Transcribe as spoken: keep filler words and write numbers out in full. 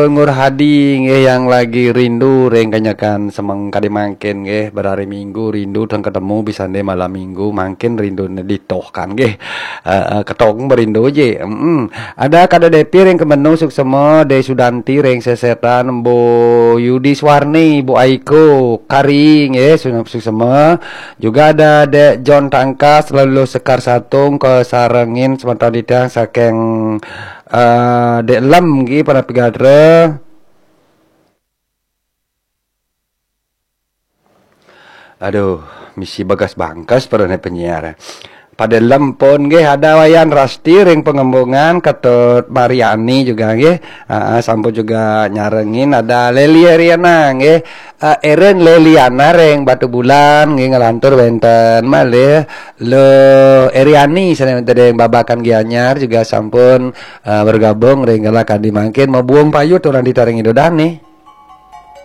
Nur Hadi nggih, yang lagi rindu ring kanyakan semeng kadi mangkin nggih, berhari Minggu rindu tang ketemu, bisa nde malam Minggu mangkin rindu ne ditoh kan nggih. Eh, eh, ketong berindu je. Mm-mm. Ada Kada Depi ring Kemenung, suksema, De Sudanti ring Sesetan, Bu Yudi Swarni, Bu Aiko, Kari nggih, su-, suksema. Juga ada Dek John Tangkas, lalu Sekar Satung, kasarengin semeton titiang saking, eh, Dek Lem nggih, Panapi Gadra. Aduh, misi bagas bangkas perane penyiar. Pada lem pun nggih, ada Wayan Rasti ring Pengembungan, Ketut Mariani juga nggih. Ah, ah, sampun juga nyarengin, ada Leli Eriana nggih. Eh, Eren Leliana ring Batu Bulan nggih, ngelantur wenten malih Lo Eriani sane wenten ring Babakan Gianyar juga sampun, eh, bergabung ring galakan di mangkin, mabuung payut orang di taring ido dane.